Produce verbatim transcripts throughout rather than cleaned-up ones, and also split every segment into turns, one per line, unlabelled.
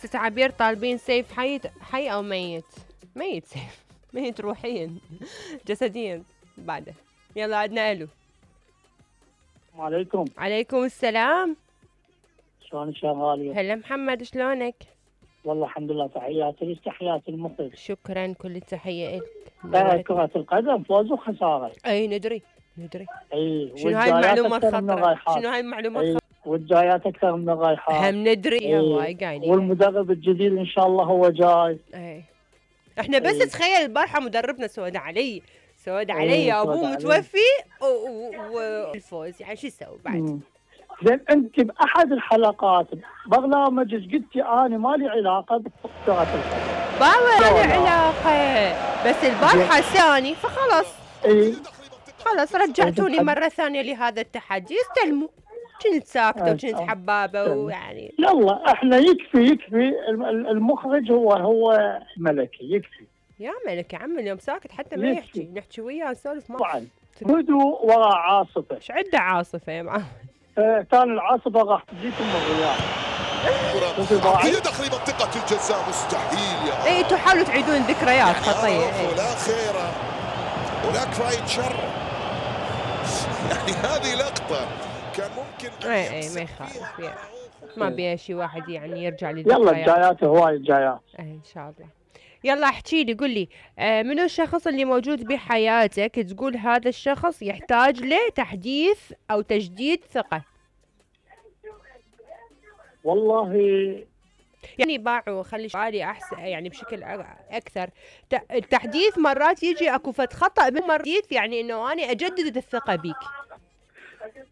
ست عبير طالبين سيف حي حي او ميت؟ ميت سيف. ميت روحيا جسديا بعده. يلا عدنا الو.
السلام عليكم.
عليكم السلام.
شلونك يا غالية؟
هلا محمد شلونك؟
والله الحمد لله، تحياتي لك تحياتي المخرج.
شكرا كل التحية
لك. كرة القدم فوز وخسارة.
اي ندري ندري.
اي
شنو هاي المعلومة الخطرة؟ شنو هاي المعلومة الخطرة؟
والجايات اكثر من الرايحات.
هم ندري هواي قايلين.
والمدرب الجديد ان شاء الله هو جاي.
اي احنا بس أي. تخيل البارحة مدربنا سود علي سود علي
أي.
ابوه متوفي والفوز، يعني شو يسوي بعد؟
زين انت باحد الحلقات برنامجك قلتي انا ما لي علاقه بكره القدم.
ما لي علاقه، بس البارحه ثاني فخلاص.
اي
خلاص رجعتوني مره ثانيه لهذا التحدي، استلموا. كنت ساكته وكنت حبابه ويعني
يلا احنا يكفي يكفي المخرج هو هو ملكي يكفي.
يا ملكي عم اليوم ساكت حتى ما يحكي، نحكي وياه نسولف معه.
طبعا هدوء وراء عاصفه.
ايش عنده عاصفه يا معود؟
آه كان العاصفه راح تجيكم الرياح.
هي داخل منطقه الجزاء مستحيل يا
اي انتوا حاولوا تعيدون ذكريات خطيه.
يعني ولا خير ولا كفايه شر. يعني هذه لقطه كان ممكن
اي اي ما يخالف يعني. ما بيها شي واحد يعني يرجع للذكريات.
يلا الجايات هواي الجايات.
اي ان شاء الله. يلا احكي لي قل لي آه منو الشخص اللي موجود بحياتك تقول هذا الشخص يحتاج لتحديث او تجديد ثقة؟
والله
يعني باعوا خلي سؤالي احسن يعني بشكل اكثر. التحديث مرات يجي اكو فد خطأ بالمرات، يعني انه انا اجدد الثقة بيك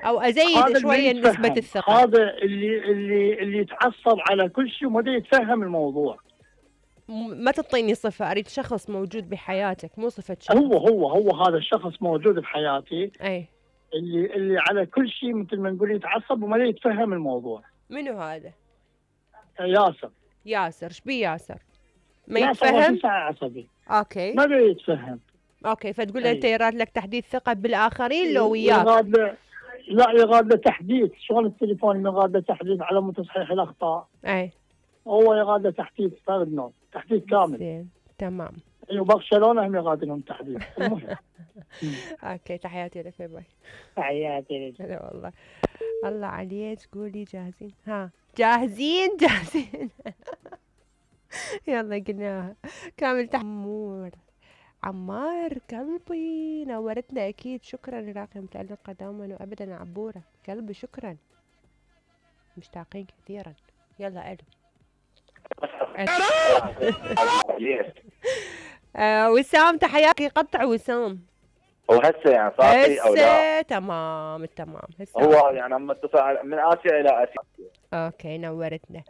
او ازيد شوية نسبة الثقة.
هذا اللي اللي اللي يتعصب على كل شيء وما يتفهم الموضوع.
ما تعطيني صفة، اريد شخص موجود بحياتك مو صفة شخص.
هو هو هو هذا الشخص موجود بحياتي.
اي
اللي اللي على كل شيء مثل ما نقول يتعصب وما يتفهم الموضوع.
منو هذا؟
ياسر.
ياسر ايش بيه ياسر؟ ما
ياسر
يتفهم؟
عصبي.
اوكي
ما بيتفهم.
اوكي فتقول له انت يراد لك تحديث ثقة بالاخرين لو وياك؟
يراد له لا يراد له تحديث. شلون التليفون يراد له تحديث على مود تصحيح الاخطاء.
اي
هو يراد له تحديث فرد نوع تحديث كامل.
زين تمام.
ايوه برشلونه هم يراد لهم تحديث. المهم
اوكي تحياتي لك باي.
تحياتي لك.
هلا والله. الله عليك قولي جاهزين؟ ها جاهزين جاهزين. يلا قلناها كامل تحمور. عمار قلبي نورتنا اكيد. شكرا راقي متألقة دوما وابدا عبورة قلبي شكرا. مشتاقين كثيرا. يلا الو. آه وسام تحياتي. قطع وسام.
هو هسه يعني صافي او لا؟
هسه تمام التمام. هسه
هو يعني عم اتصل من اسيا الى اسيا.
اوكي نورتنا.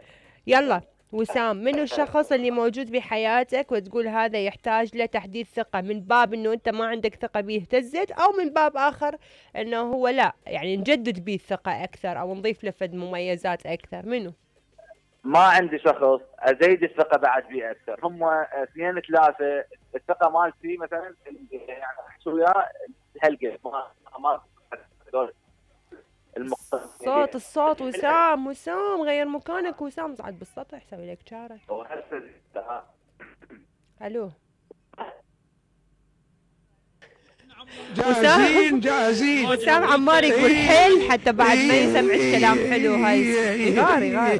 يلا وسام منو الشخص اللي موجود بحياتك وتقول هذا يحتاج له تحديث ثقة، من باب انه انت ما عندك ثقة بيه اهتزت، او من باب اخر انه هو لا يعني نجدد بيه الثقة اكثر او نضيف له فد مميزات اكثر؟ منو؟
ما عندي شخص ازيد الثقة بعد بيه اكثر، هم اثنين ثلاثة. الثقة مالتي مثلا يعني احكي وياه هالقد ما ما
الصوت الصوت وسام وسام غير مكانك وسام صعد بالسطح سوي لك شارة. الو
جاهزين جاهزين.
وسام عمار يقول حل حتى بعد ما يسمعك كلام حلو. هاي غار غار.